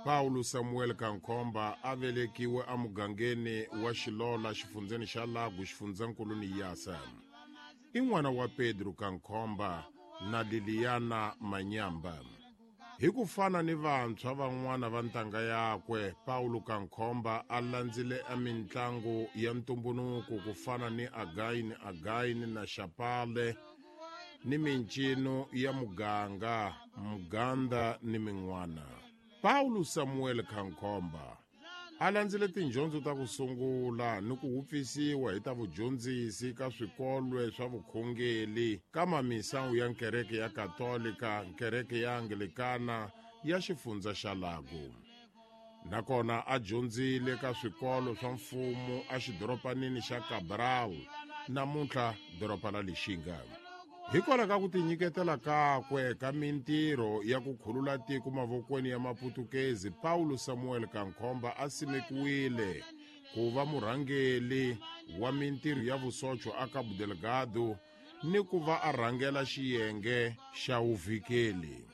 Paulo Samuel Kankhomba a velekiwe emugangeni wa Xilola xifundzeni xa Lago xifundzankulu Niassa. I n'wana wa Pedro Kankhomba na Liliana Manyamba. Hi ku fana ni vantshwa van'wana va ntanga yakwe, Paulo Kankhomba a landzile emintlangu ya ntumbunuko ku fana ni Again Again na Xapale ni mincino ya muganga, muganda ni min'wana. Paulo Samuel Kankhomba a landzile tindyondzo ta ku sungula ni ku wupfisiwa hi ta vudyondzisi ka swikolwe swa vukhongeli ka mamisawu ya nkereke ya Katolika, nkereke ya Anglikana ya xifundza xa Lago. Nakona a dyondzile ka swikolo swa mfumo exidoropanini xa Cabral, namuntlha doroba la Lixinga. Hikwalaho ka ku tinyiketela kakwe ka mintirho ya ku khulula tiko mavokweni ya Maputukezi, Paulo Samuel Kankhomba a simekiwile ku va murhangeli wa mintirho ya vusocho a Cabo Delgado ni ku va a rhangela xiyenge xa vuvhikeli.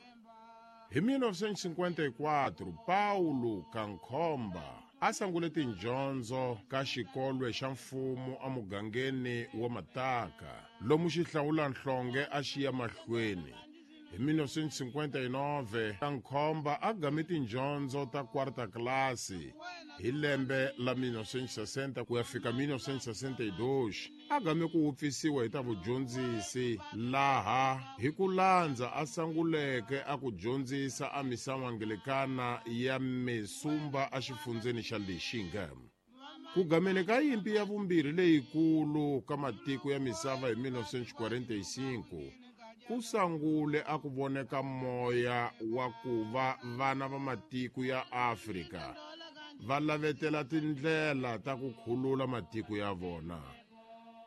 Hi 1954, Paulo Kankhomba a sangule tindyondzo ka xikolwe xa mfumo emugangeni wa Mataka, lomu xihlawulanhlonge a xi ya mahlweni. Hi 1959, Kankhomba a game tindyondzo ta kwarta klasi hi lembe la 1960 ku ya fika 1962. A game ku wupfisiwa hi ta vudyondzisi laha hi ku landza a sanguleke a ku dyondzisa a misava Angilikana ya Mesumba exifundzeni xa Lixinga. Ku gameni ka yimpi ya vumbirhi leyikulu ka matiko ya misava hi 1945, ku sangule a ku voneka moya wa ku va vana va matiko ya Afrika va lavetela tindlela ta ku khulula matiko ya vona.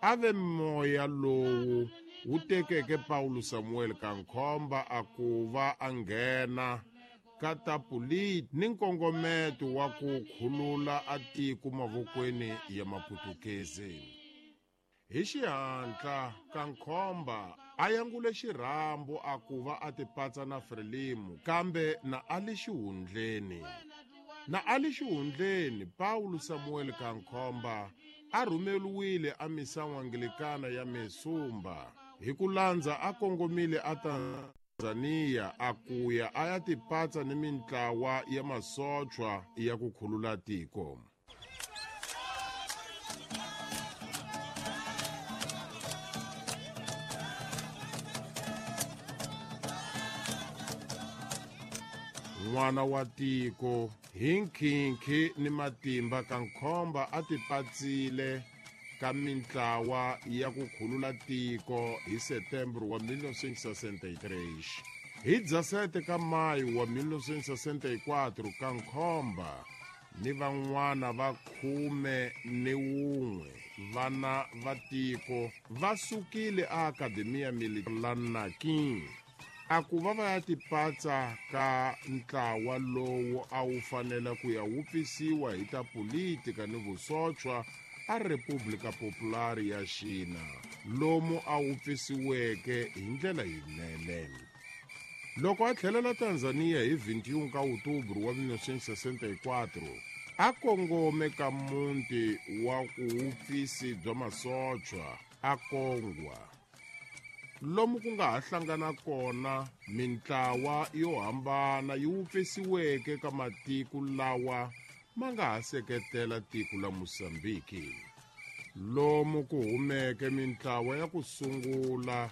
A ve moya lowu wu tekeke Paulo Samuel Kankhomba a ku va a nghena ka ta politiki ni nkongometo wa ku khulula a tiko mavokweni ya Maputukezi. Hi xihatla, Kankhomba a yangule xirhambo a ku va a tipatsa na Frelimo, kambe na a li xihundleni. Na a li xihundleni, Paulo Samuel Kankhomba a rhumeliwile a misawu Angilikana ya Mesumba hi ku landza a kongomile a Tanzania a kuya a ya tipatsa ni mintlawa ya masochwa ya ku khulula tiko. N'wana wa tiko hi nkhinkhi ni matimba Kankhomba a tipatsile ka mintlawa ya ku khulula tiko hi Setembro wa 1963. Hi 17 ka Mayu wa 1964, Kankhomba ni van'wana va 11 vana va tiko va sukile a Akademiya Militar la Nakin a ku va va ya tipatsa ka ntlawa lowu a wu fanele ku ya wupfisiwa hi ta politika ni vusochwa a Republika Popular ya Xina, lomu a wupfisiweke hi ndlela yinene. Loko a tlhelela Tanzania hi 21 ka Outubro wa 1964, a kongome ka muti wa vuwupfisi bya masochwa a Kongwa, lomu ku nga ha hlangana kona mintlawa yo hambana yi wupfisiweke ka matiko lawa ma nga ha seketela tiko la Mozambiki, lomu ku humeke mintlawa ya ku sungula.